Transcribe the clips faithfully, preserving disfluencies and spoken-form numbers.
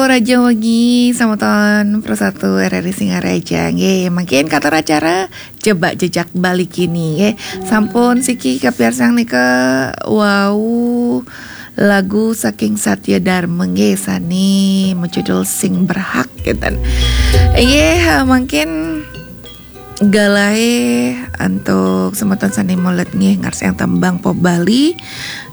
Rahajeng wengi, semeton Pro satu R R I Singaraja nggih. Mangkin katur acara Jebak Jejak Bali kini nggih. Sampun siki kapiarsang nika wau lagu saking Satya Dharma nggih, sane majudul Sing Berhak, ngeten. Inggih, mangkin galahe antuk semeton sane melet nggih ngarsayang tembang pop Bali.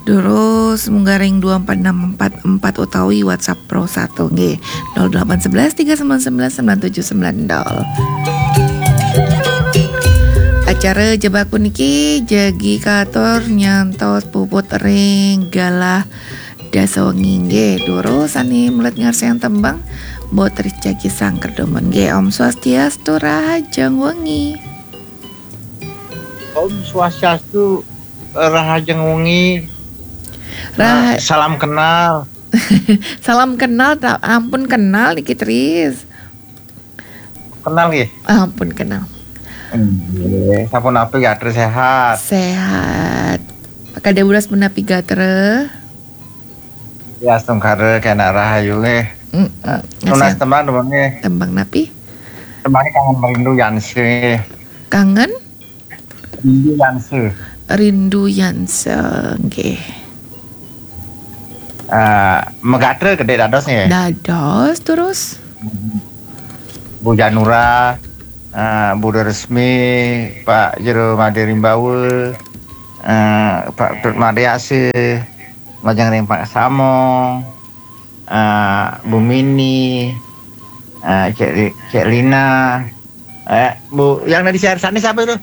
Durus munggah ring dua empat enam empat empat utawi WhatsApp Pro satu nggih, nol delapan sebelas tiga sembilan sembilan sembilan tujuh sembilan nol. Acara Jebak puniki jagi katur nyantos puput ring galah dasa wengi nggih. Durus sane melet ngarsayang tembang, Mbok Tris jagi sangker dumun nggih. Om Swastiastu, rahajeng wengi. Om Swastiastu, rahajeng wengi. Rah- Nah, salam kenal. Salam kenal, ta-, ampun kenal niki, Tris. Kenal nggih? Ampun kenal. Nggih, sampun napi gatra sehat? Sehat. Pakade buras punapi gatra? Ya, astungkara kena rahayu nggih. Mm, mm. Nunas tembang, tembang nggih. Tembang napi? Tembangnya Kangen Merindu Yanse. Kangen? Rindu Yanse. Rindu Yanse, nggih. Ah, magatra gedhe dados nggih. Dados terus. Bu Janura, ah, Bu Resmi, Pak Jero Made Rimbawa, ah, Pak Tut Made Ase, majeng ring Pak Samong, ah, Bu Mini, ah, Cek Li-, Cek Lina, eh, Bu, yang dari siarsani siapa itu?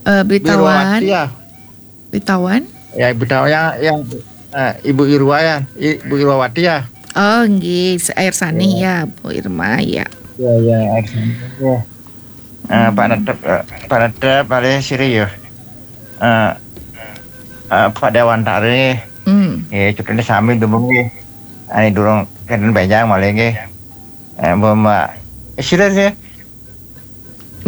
Eh, Bitawan. Irwawati ya? Bitawan? Ya, Bitawan yang, yang, eh, Ibu Irwa ya, Ibu Irwawati ya? Oh, nggih, air sani ya, Bu Irma ya. Ya, ya, air sani. Ya. Eh, Pak Netep, eh, Pak Netep, Pak Siri ya. Eh, eh, Pak Dewantara. Hmm. Nggih, cutune sami dumun nggih. Ane durung kenten benjang malih nggih. Eh, Mbak, Mbak, eh, sira sih?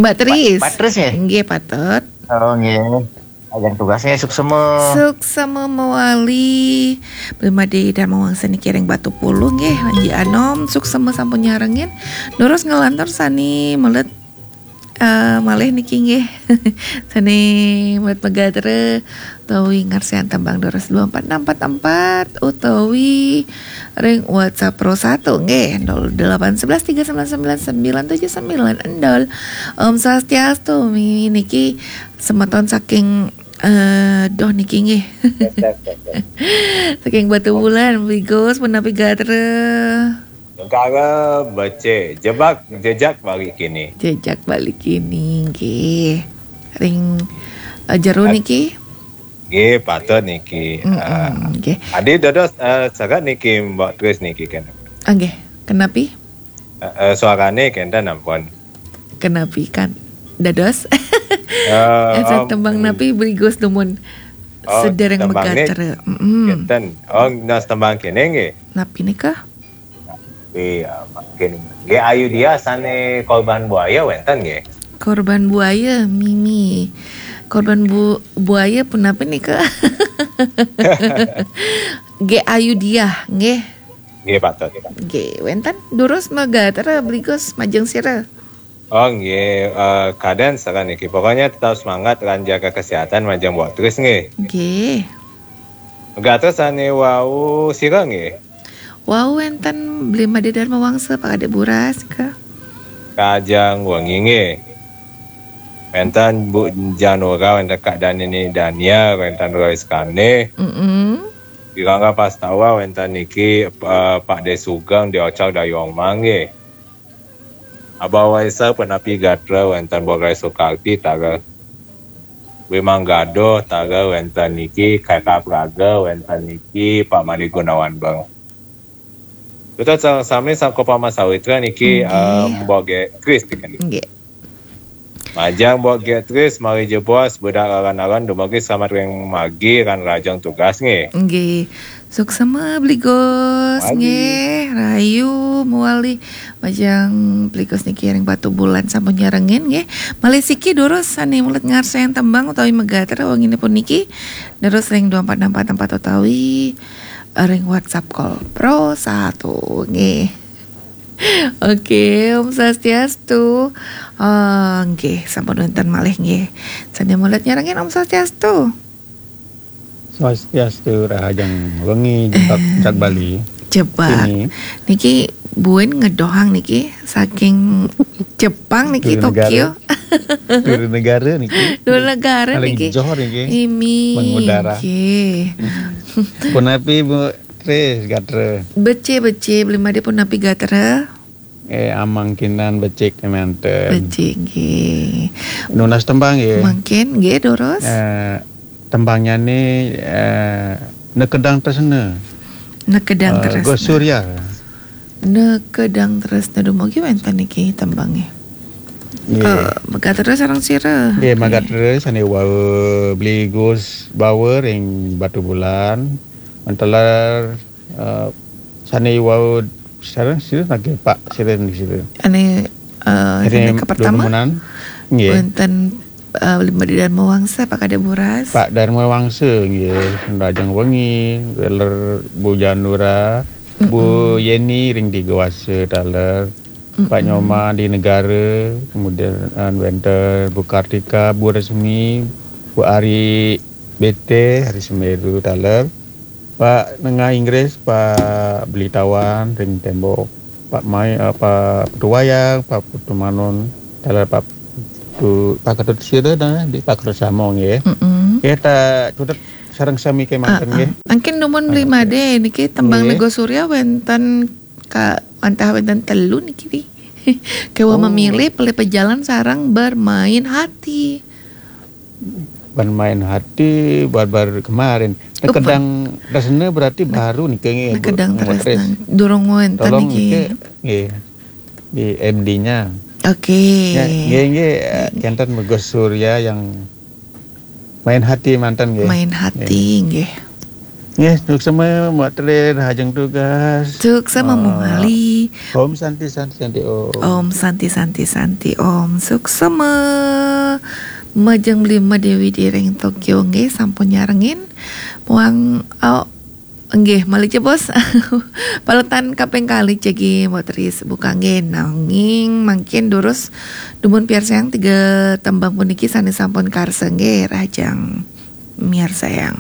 Mbak Tris. Mbak Tris nggih? Nggih, patut. Oh, nggih. Ajeng tugasnya suksema. Suksema mawali. Bli Made Dharma Wangsa niki ring Batu Pulu nggih, Panji Anom, suksema sampun nyarengin. Durus nglantur sane melet, eh, malih niki nggih. Sane melet magatra utawi ngarsayang tembang durus dua empat enam empat empat utawi ring WhatsApp Pro satu nggih, nol delapan sebelas tiga sembilan sembilan sembilan tujuh sembilan nol. Om Swastiastu, mi-, niki semeton saking, eh, doh niki nggih. Saking Batu Bulan, Bli Gus, punapi gatra? Lengkara becik, jebak, jejak Bali kini. Jejak Bali kini, nggih. Ring, eh, jero niki? Nggih, patut niki. Mm-mm, ah, nggih. Adi dados, eh, sagat niki Mbak Tris niki kan. Ah, nggih. Kenapi? Eh, eh, suarane kenten ampun. Kenapi kan? Dados? Eh, eh, tembang napi Bli Gus dumun? Oh, sedereng tembang ni magatra. Mm-mm. Kenten. Oh, nas tembang kene nggih. Napi nika? Iya, mungkin. Nggih, Ayu Dia sane Korban Buaya wenten nggih. Korban Buaya, mimi. Korban bu-, Buaya punapi nika? Nggih, Ayu Dia, nggih. Nggih, patut. Nggih, wenten durus magatra Bli Gus majeng sira. Oh, nggih, eh, kaden sakan niki. Pokoknya tetap semangat lan jaga kesehatan majeng Mbok Tris nggih. Nggih. Gatra sane wau sira nggih. Wau wenten Bli Made Dharma Wangsa, Pak Kadek Buras, ka. Kajeng wengi nggih. Wenten Bu Janura, wenten Kak Danini Dania, wenten Roy Skane. Mm-mm. Di Rangga Pastawa, wenten niki, eh, Pak De Sugeng, di Ocak Dayong Mangge. Abah Waisa punapi gatra wenten Bogai Sukarti taga. Wimang Gaduh taga wenten niki, Kaka Praga wenten niki, Pak Made Gunawan Bang. Kita sa-, sami sangko Pama Sawitra niki, nggih, eh, Mbok Ge-, Kris niki. Nggih. Majeng Mbok Ge-, Kris, mari jebos, bedak raran-raran, dumugi selamat ring margi, ran rajeng tugas nggih. Nggih. Suksema Bli Gus, nggih, rahayu mawali. Majeng Bli Gus niki ring Batu Bulan sampun nyarengin nggih. Malih siki durus sane melet ngarsayang tembang utawi magatra wengine puniki. Durus ring dua empat enam empat empat utawi ring WhatsApp call Pro satu nggih. Oke, Om Swastiastu. Ah, nggih, sampun wonten malih nggih. Sane mulih nyarengin, Om Swastiastu. Swastiastu, rahajeng wengi, jebak, jebak Bali. Jebak. Ini. Niki buin ngedohang niki saking Jepang niki, Tokyo. Duri negara niki. Duri negara niki. Paling joh niki. Imi. Mengudara. Nggih. Punapi, Bu Tris, gatra? Becik, becik, Beli Made, punapi gatra? Eh, amangkinan becik manten. Becik nggih. Nunas tembang nggih. Mangkin nggih, durus. Eh, tembangnya ni, eh, Nekedang Tresna. Nekedang eh, Tresna. Gus Surya. Nekedang Tresna, dumugi wenten niki tembangnya. Nggih. Eh, Magat Tresna sareng sira. Nggih, Magat Tresna sane wau Beli Gus Bawa ring Batubulan. Menteler eh, sane wau sareng sira nggih, Pak, sira niki sira. Ane eh, Ane sane kapertama. Nggih. Wonten eh, Beli Made Darma Wangsa, Pak Kadek Buras. Pak Darma Wangsa nggih, rahajeng wengi, weler Bu Janura, Bu Yeni ring Digawasa taler. Pak Nyoman di Negara, kemudian wenten Bu Kartika, Bu Resmi, Bu Ari Bete, Ari Semeru taler. Pak Nengah Inggris, Pak Belitawan ring Tembok, Pak Mai, eh, Pak Putu Wayang, Pak Putu Manon, taler Pak Putu, Pak Ketut sira dah, di Pak Ketut Samo nggih. Heeh. Nggih, ta cutet sareng sami kemanten nggih. Angkin dumun Beli Made niki tembang Nego Surya wenten ka wantah wenten telu niki wi. Kewa memilih, pelih pejalan, sareng bermain hati. Bermain hati, baru-baru kemarin. Nekedang Tresna berarti baru niki nggih, Bu. Nekedang Tresna. Durung wenten niki. Nggih. Di M D-nya. Oke. Nggih, nggih, kenten Nego Surya yang Main Hati manten nggih. Main Hati nggih. Nggih, suksma Mbok Tri, rahajeng tugas. Suksma Mbok Mali. Om Santi, Santi, Santi, Om. Om Santi, Santi, Santi, Om. Suksma. Majeng Beli Made Widi ring Tokyo nggih, sampun nyarengin. Muang, oh, nggih, malih jebos. Paletan kaping kalih jagi Mbok Tri buka nggih, nanging mangkin durus dumun piarsayang tiga tembang puniki sane sampun karsa nggih, rahajeng miarsayang.